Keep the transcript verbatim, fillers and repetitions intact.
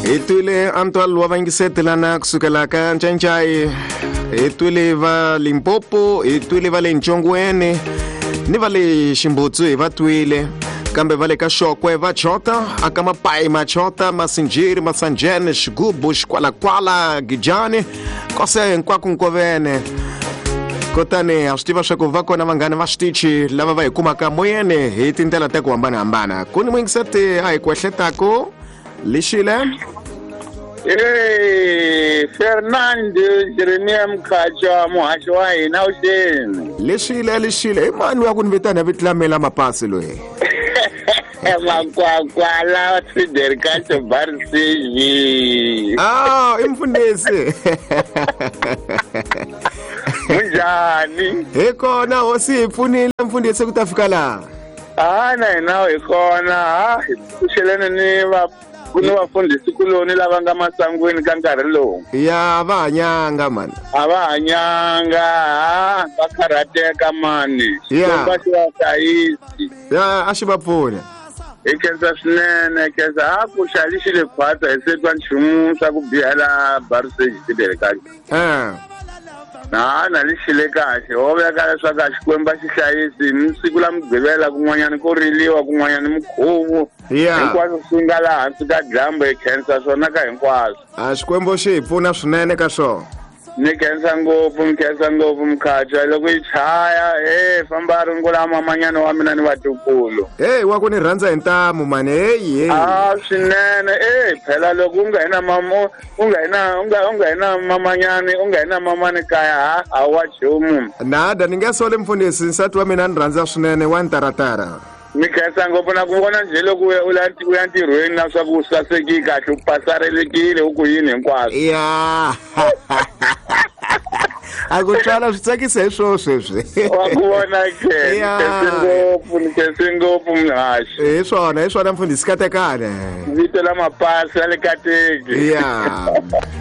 Hi twile Antoine wa vayingisetelana kusukela ka Ncancai, hi twile va Limpopo, hi twile va le Ntshongweni ni va le Ximbutsu hi va twile, kambe va le ka Xokwe va chota, aka Mapai machota, Masinjiri, Masanjene, Xigubu, Xikwalakwala, Gijani, kose hinkwako nkovene. Kutani a swi tiva swa ku va kona vanghana va switichi lava va hi kumaka moyeni hi tindlela ta ku hambanahambana. Ku ni muyingiseti a hi kwehletako lexile. Hey, Fernando Jeremia Mkhacha, muhaxi wa hina vuxeni. Lexile, lexile. I mani wa ku ni vitana vito la mina mapasi loyi? Makwakwa Fidel Castro Barsiji. Ah, i mfundhisi. Munjhani? Hi kona hosi hi pfunile mfundhisi ku ta fika laha. Ah, na hina hi kona. Ha, hi pfuxelene ni va ku ni vafundhisi kuloni lava nga masangwini ka nkarhi lowu. Ya va hanyanga mani. A va hanyanga, ha, va karhateka mani. Ya. Xikwembu a xi va hlayisi. Ya, a xi va pfuna. Hi khensa swinene, hi khensa. Ha, ku xali xi le khwatsa hi se twa nchumu swa ku biha la Barsage Fidel Castro. Eh. Na, na lexi le kahle. Ho veka leswaku a Xikwembu a xi hlayisi ni siku la Mugqivela kun'wanyana ko riliwa kun'wanyana mukhuvu. Ya. Hinkwaswo swi nga laha hansi ka dyambu hi khensa swona ka hinkwaswo. A Xikwembu xi hi pfuna swinene ka swona. Ni khensa ngopfu, ni khensa ngopfu Mkhacha. Loko yi chaya, he, famba rungula mamanyana wa mina ni vatukulu. Hey, wa ku ni rhandza hi ntamu mani, hey, hey. Ah, swinene. Eh, phela loko u nga hi na mamo, u nga hi na, u nga, u nga hi na mamanyani, u nga hi na mamani kaya, ha, a wa chumu. Nada, ni nge soli mfundhisi, nsati wa mina ni rhandza swinene, wa ntaratara. Ni khensa ngopfu na ku vona njhe loko u ya, u ya, u ya ntirhweni na swa ku u sasekile kahle, u pasarelekile, u ku yini hinkwaswo. Ya. A ku twala swi tsakisa hi swoho sweswi. Wa ku vona ke, ni Ya. khense ngopfu, ni khense ngopfu muhaxi. Hi swona, hi swona mfundhisi, katekane. Vito la mapasi ya le kateki. Ya.